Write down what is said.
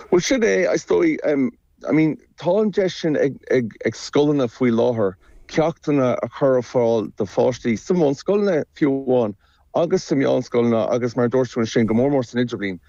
Bhuel, sin é, is dóigh. I mean, tá an deis sin ag, ag, ag scoileanna faoi láthair ceachtanna a chur ar fáil do pháistí sa mbunscoileanna fiú amháin agus sa meánscoileanna agus mar a dúirt tú ansin go mór mór san idirbhliain.